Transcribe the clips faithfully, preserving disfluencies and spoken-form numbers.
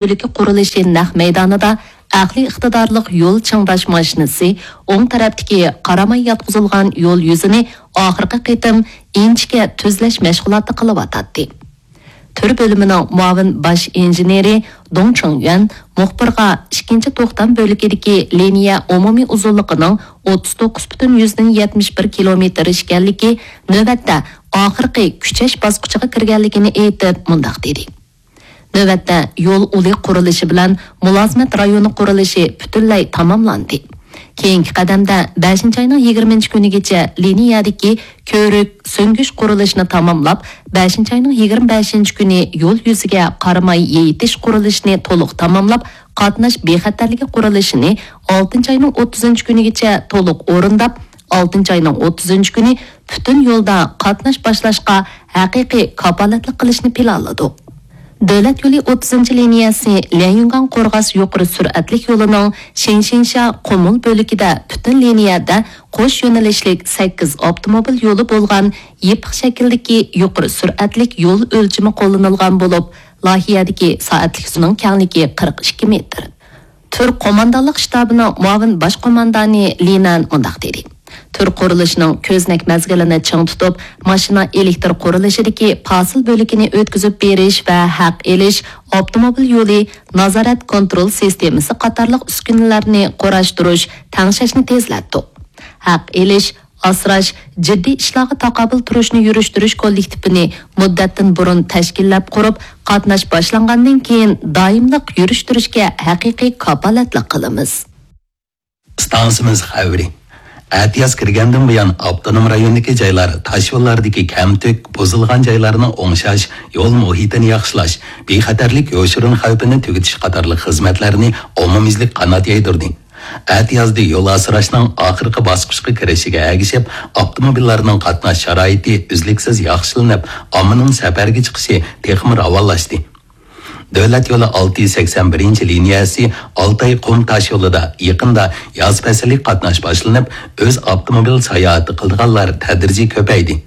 بۆلىكى قۇرۇلۇشى نەق مەيدانىدا ئەقلىي ئىقتىدارلىق يول چىڭداش ماشىنىسى ئوڭ تەرەپتىكى قاراماي ياتقۇزۇلغان يول يۈزىنى ئاخىرقى قېتىم ئىنچىكە تۈزلەش مەشغۇلاتى قىلىۋاتاتتى. تۈر بۆلۈمىنىڭ مۇئاۋىن باش ئىنژېنېرى دۇڭ چىڭيۈەن مۇخبىرغا ئىككىنچى توختام بۆلىكىدىكى لىنىيە ئومۇمىي ئۇزۇنلۇقىنىڭ ئوتتۇز توققۇز پۈتۈن يۈزدىن يەتمىش بىر كىلومېتىر ئىكەنلىكى، نۆۋەتتە ئاخىرقى كۈچەش باسقۇچىغا كىرگەنلىكىنى ئېيتىپ، مۇنداق دېدى. نۆۋەتتە يول ئۇلى قۇرۇلۇشى بىلەن مۇلازىمەت رايونى قۇرۇلۇشى پۈتۈنلەي تاماملاندى. كېيىنكى قەدەمدە بەشىنچى ئاينىڭ يىگىرمىنچى كۈنىگىچە لىنىيەدىكى كۆۋرۈك سۈڭگۈچ قۇرۇلۇشىنى تاماملاپ، بەشىنچى ئاينىڭ يىگىرمە بەشىنچى كۈنى يول يۈزىگە قاراماي يېيىتىش قۇرۇلۇشىنى تولۇق تاماملاپ، قاتناش بىخەتەرلىكى قۇرۇلۇشىنى ئالتىنچى ئاينىڭ ئوتتۇزىنچى كۈنىگىچە تولۇق ئورۇنداپ، ئالتىنچى ئاينىڭ ئوتتۇزىنچى كۈنى پۈتۈن يولدا قاتناش باشلاشقا ھەقىقىي كاپالەتلىك قىلىشنى پىلانلىدۇق. دۆلەت يولى ئوتتۇزىنچى لىنىيەسى ليەنيۈنگاڭ قورغاس يۇقىرى سۈرئەتلىك يولىنىڭ شىنشىنشيا قۇمۇل بۆلىكىدە پۈتۈن لىنىيەدە قوش يۆنىلىشلىك سەككىز ئاپتوموبىل يولى بولغان يېپىق شەكىلدىكى يۇقىرى سۈرئەتلىك يول ئۆلچىمى قوللىنىلغان بولۇپ، لايىھەدىكى سائەتلىك ئۇزۇننىڭ كەڭلىكى قىرىق ئىككى مېتىر. تۈر قوماندانلىق شتابىنىڭ مۇئاۋىن باش قوماندانى لى نەن مۇنداق دېدى: تۈر قۇرۇلۇشىنىڭ كۆزنەك مەزگىلىنى چىڭ تۇتۇپ، ماشىنا ئېلېكتر قۇرۇلۇشىدىكى پاسىل بۆلىكىنى ئۆتكۈزۈپ بېرىش ۋە ھەق ئېلىش، ئاپتوموبىل يولى، نازارەت كونترول سىستېمىسى قاتارلىق ئۈسكۈنىلەرنى قۇراشتۇرۇش، تەڭشەشنى تېزلەتتۇق. ھەق ئېلىش، ئاسراش، جىددىي ئىشلارغا تاقابىل تۇرۇشنى يۈرۈشتۈرۈش كوللېكتىپىنى مۇددەتتىن بۇرۇن تەشكىللەپ قۇرۇپ، قاتناش باشلانغاندىن كېيىن دائىملىق يۈرۈشتۈرۈشكە ھەقىقىي كاپالەتلىك قىلىمىز. ئىستانسىمىز خەۋىرى. ئەتىياز كىرگەندىن بۇيان، ئاپتونوم رايوندىكى جايلار تاشيوللاردىكى كەمتۈك، بۇزۇلغان جايلارنى ئوڭشاش، يول مۇھىتىنى ياخشىلاش، بىخەتەرلىك يوشۇرۇن خەۋپىنى تۈگىتىش قاتارلىق خىزمەتلەرنى ئومۇميۈزلۈك قانات يايدۇردى. ئەتىيازدا يول ئاسراشنىڭ ئاخىرقى باسقۇچقا كىرىشىگە ئەگىشىپ، ئاپتوموبىللارنىڭ قاتناش شارائىتى ئۈزلۈكسىز ياخشىلىنىپ، ئاممىنىڭ سەپەرگە چىقىشى تېخىمۇ راۋانلاشتى. دۆلەت يولى ئالتە يۈز سەكسەن بىرىنچى لىنىيەسى ئالتاي قۇم تاشيولىدا يېقىندا ياز پەسلىك قاتناش باشلىنىپ، ئۆز ئاپتوموبىل ساياھىتى قىلىدىغانلار تەدرىجىي كۆپەيدى.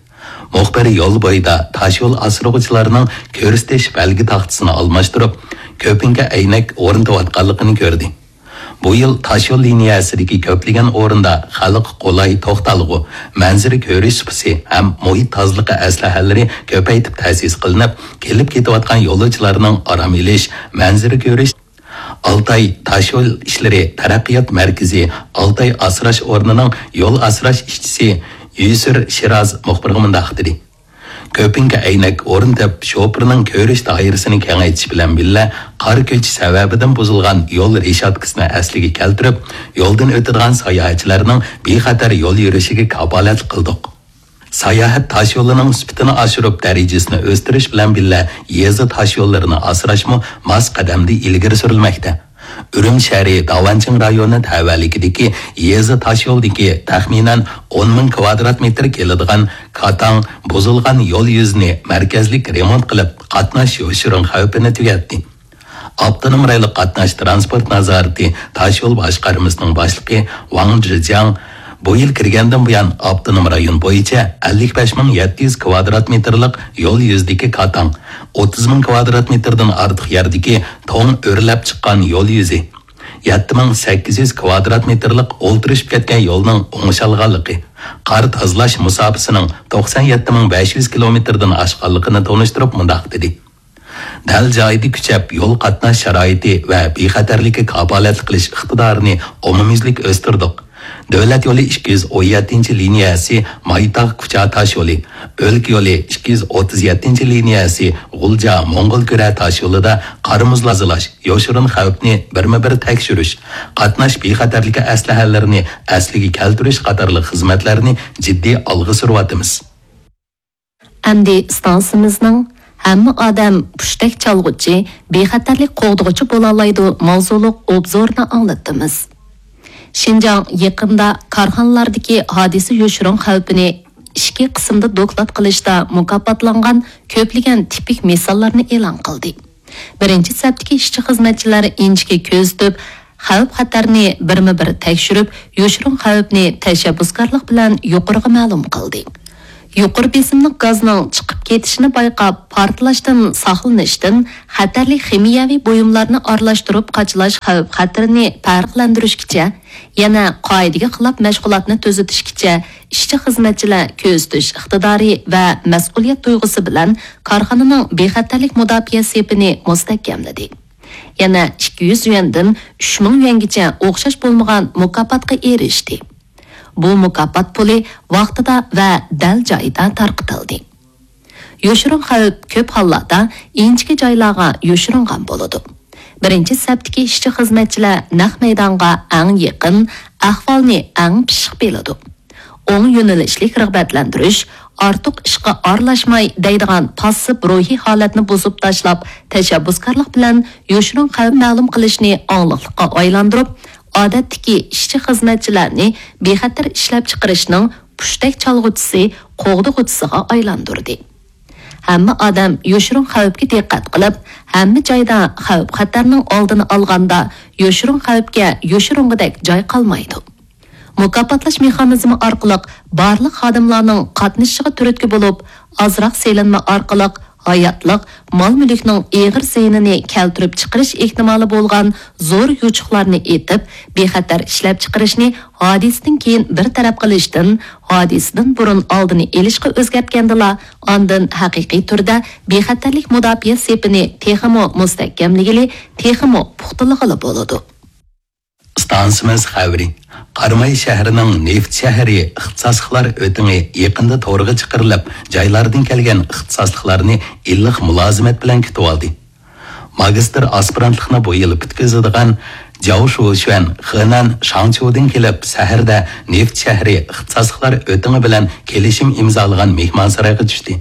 مۇخبىر يول بويىدا تاشيول ئاسرىغۇچىلارنىڭ كۆرسىتىش بەلگە تاختىسىنى ئالماشتۇرۇپ، كۆپۈڭكە ئەينەك ئورنىتىۋاتقانلىقىنى كۆردى. بۇ يىل تاشيول لىنىيەسىدىكى كۆپلىگەن ئورۇندا خەلققە قولاي توختالغۇ، مەنزىرە كۆرۈش سۇپىسى ھەم مۇھىت تازىلىقى ئەسلىھەلىرى كۆپەيتىپ تەسىس قىلىنىپ، كېلىپ كېتىۋاتقان يولۇچىلارنىڭ ئارام ئېلىش، مەنزىرە كۆرۈش. ئالتاي تاشيول ئىشلىرى تەرەققىيات مەركىزى ئالتاي ئاسراش ئورنىنىڭ يول ئاسراش ئىشچىسى يۈسۈر شىراز مۇخبىرغا مۇنداق دېدى: كۆپۈڭكە ئەينەك ئورنىتىپ، شوپۇرنىڭ كۆرۈش دائىرىسىنى كېڭەيتىش بىلەن بىللە، قار كۆچۈش سەۋەبىدىن بۇزۇلغان يول رېشاتكىسىنى ئەسلىگە كەلتۈرۈپ، يولدىن ئۆتىدىغان ساياھەتچىلەرنىڭ بىخەتەر يول يۈرۈشىگە كاپالەتلىك قىلدۇق. ساياھەت تاشيولىنىڭ سۈپىتىنى ئاشۇرۇپ، دەرىجىسىنى ئۆستۈرۈش بىلەن بىللە، يېزا تاشيوللىرىنى ئاسراشمۇ ماس قەدەمدە ئىلگىرى سۈرۈلمەكتە. ئۈرۈمچى شەھىرى داۋانچىڭ رايونى تەۋەلىكىدىكى يېزا تاشيولدىكى تەخمىنەن ئون مىڭ كىۋادرات مېتىر كېلىدىغان كاتاڭ بۇزۇلغان يول يۈزىنى مەركەزلىك رېمونت قىلىپ، قاتناش يوشۇرۇن خەۋپىنى تۈگەتتى. ئاپتونوم رايونلۇق قاتناش تىرانسپورت نازارىتى تاشيول باشقارمىسىنىڭ باشلىقى ۋاڭ جىجياڭ بۇ يىل كىرگەندىن بۇيان، ئاپتونوم رايون بويىچە ئەللىك بەش مىڭ يەتتە يۈز كىۋادرات مېتىرلىق يول يۈزىدىكى كاتاڭ، ئوتتۇز مىڭ كىۋادرات مېتىردىن ئارتۇق يەردىكى توڭ ئۆرلەپ چىققان يول يۈزى، يەتتە مىڭ سەككىز يۈز كىۋادرات مېتىرلىق ئولتۇرۇشۇپ كەتكەن يولنىڭ ئوڭشالغانلىقى، قار تازىلاش مۇساپىسىنىڭ توقسان يەتتە مىڭ بەش يۈز كىلومېتىردىن ئاشقانلىقىنى تونۇشتۇرۇپ مۇنداق دېدى: دەل جايىدا كۈچەپ يول قاتناش شارائىتى ۋە بىخەتەرلىككە كاپالەتلىك قىلىش ئىقتىدارىنى ئومۇميۈزلۈك ئۆستۈردۇق. دۆلەت يولى ئىككى يۈز ئون يەتتىنچى لىنىيەسى مايتاغ كۇچا تاش يولى، ئۆلكە يولى ئىككى يۈز ئوتتۇز يەتتىنچى لىنىيەسى غۇلجا موڭغۇل كۈرە تاش يولىدا قار مۇز تازىلاش، يوشۇرۇن خەۋپنى بىرمۇ بىر تەكشۈرۈش، قاتناش بىخەتەرلىكى ئەسلىھەلىرىنى ئەسلىگە كەلتۈرۈش قاتارلىق خىزمەتلەرنى جىددىي ئالغا سۈرۈۋاتىمىز. ئەمدى ئىستانسىمىزنىڭ ھەممە ئادەم پۇشتەك چالغۇچى، بىخەتەرلىك قوغدىغۇچى بولالايدۇ ماۋزۇلۇق ئوبزورنى ئاڭلىتىمىز. شىنجاڭ يېقىندا كارخانىلاردىكى ھادىسە يوشۇرۇن خەۋپىنى ئىچكى قىسىمدا دوكلات قىلىشتا مۇكاپاتلانغان كۆپلىگەن تىپىك مىساللارنى ئېلان قىلدى. بىرىنچى سەپتىكى ئىشچى-خىزمەتچىلەر ئىنچىكە كۆزىتىپ، خەۋپ-خەتەرنى بىرمۇ بىر تەكشۈرۈپ، يوشۇرۇن خەۋپنى تەشەببۇسكارلىق بىلەن يۇقىرىغا مەلۇم قىلدى. يۇقىرى بېسىملىق گازنىڭ چىقىپ كېتىشىنى بايقاپ، پارتلاشتىن ساقلىنىشتىن خەتەرلىك خىمىيەۋى بۇيۇملارنى ئارىلاشتۇرۇپ قاچىلاش خەۋپ-خەتىرىنى پەرقلەندۈرۈشكىچە، يەنە قائىدىگە خىلاپ مەشغۇلاتنى تۈزىتىشكىچە، ئىشچى-خىزمەتچىلەر كۆزىتىش ئىقتىدارى ۋە مەسئۇلىيەت تۇيغۇسى بىلەن كارخانىنىڭ بىخەتەرلىك مۇداپىئە سېپىنى مۇستەھكەملىدى. يەنە ئىككى يۈز يۈەندىن ئۈچ مىڭ يۈەنگىچە ئوخشاش بولمىغان مۇكاپاتقا ئېرىشتى. بۇ مۇكاپات پۇلى ۋاقتىدا ۋە دەل جايىدا تارقىتىلدى. يوشۇرۇن خەۋپ كۆپ ھاللاردا ئىنچىكە جايلارغا يوشۇرۇنغان بولىدۇ. بىرىنچى سەپتىكى ئىشچى-خىزمەتچىلەر نەق مەيدانغا ئەڭ يېقىن، ئەھۋالنى ئەڭ پىششىق بىلىدۇ. ئوڭ يۆنىلىشلىك رىغبەتلەندۈرۈش، ئارتۇق ئىشقا ئارىلاشماي دەيدىغان پاسسىپ روھىي ھالەتنى بۇزۇپ تاشلاپ، تەشەببۇسكارلىق بىلەن يوشۇرۇن خەۋپ مەلۇم قىلىشنى ئاڭلىقلىققا ئايلاندۇرۇپ، ئادەتتىكى ئىشچى-خىزمەتچىلەرنى بىخەتەر ئىشلەپچىقىرىشنىڭ پۇشتەك چالغۇچىسى، قوغدىغۇچىسىغا ئايلاندۇردى. ھەممە ئادەم يوشۇرۇن خەۋپكە دىققەت قىلىپ، ھەممە جايدا خەۋپ-خەتەرنىڭ ئالدىنى ئالغاندا، يوشۇرۇن خەۋپكە يوشۇرۇنغۇدەك جاي قالمايدۇ. مۇكاپاتلاش مېخانىزمى ئارقىلىق بارلىق خادىملارنىڭ قاتنىشىشىغا تۈرتكە بولۇپ، ئازراق سېلىنما ئارقىلىق ھاياتلىق، مال-مۈلۈكنىڭ ئېغىر زىيىنىنى كەلتۈرۈپ چىقىرىش ئېھتىمالى بولغان زور يوچۇقلارنى ئېتىپ، بىخەتەر ئىشلەپچىقىرىشنى ھادىسىدىن كېيىن بىر تەرەپ قىلىشتىن، ھادىسىدىن بۇرۇن ئالدىنى ئېلىشقا ئۆزگەرتكەندىلا، ئاندىن ھەقىقىي تۈردە بىخەتەرلىك مۇداپىئە سېپىنى تېخىمۇ مۇستەھكەملىگىلى، تېخىمۇ پۇختىلىغىلى بولىدۇ. ئىستانسىمىز خەۋىرى. قاراماي شەھىرىنىڭ نېفىت شەھىرى ئىختىساسلىقلار ئۆتىڭى يېقىندا تورغا چىقىرىلىپ، جايلاردىن كەلگەن ئىختىساسلىقلارنى ئىللىق مۇلازىمەت بىلەن كۈتۈۋالدى. ماگىستىر ئاسپىرانتلىقنى بۇ يىل پۈتكۈزىدىغان جاۋ شۇشۈەن خېنەن شاڭچيۇدىن كېلىپ، شەھەردە نېفىت شەھىرى ئىختىساسلىقلار ئۆتىڭى بىلەن كېلىشىم ئىمزالىغان مېھمانسارايغا چۈشتى.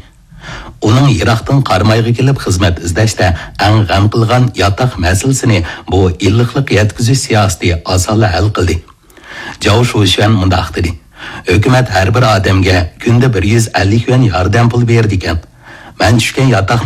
ئۇنىڭ يىراقتىن قارامايغا كېلىپ خىزمەت ئىزدەشتە ئەڭ غەم قىلغان ياتاق مەسىلىسىنى بۇ ئىللىقلىق يەتكۈزۈش سىياسىتى ئاسانلا ھەل قىلدى. جاۋ شۇشۈەن مۇنداق دېدى: «ھۆكۈمەت ھەر بىر ئادەمگە كۈندە بىر يۈز ئەللىك يۈەن ياردەم پۇلى بېرىدىكەن. مەن چۈشكەن ياتاقنىڭ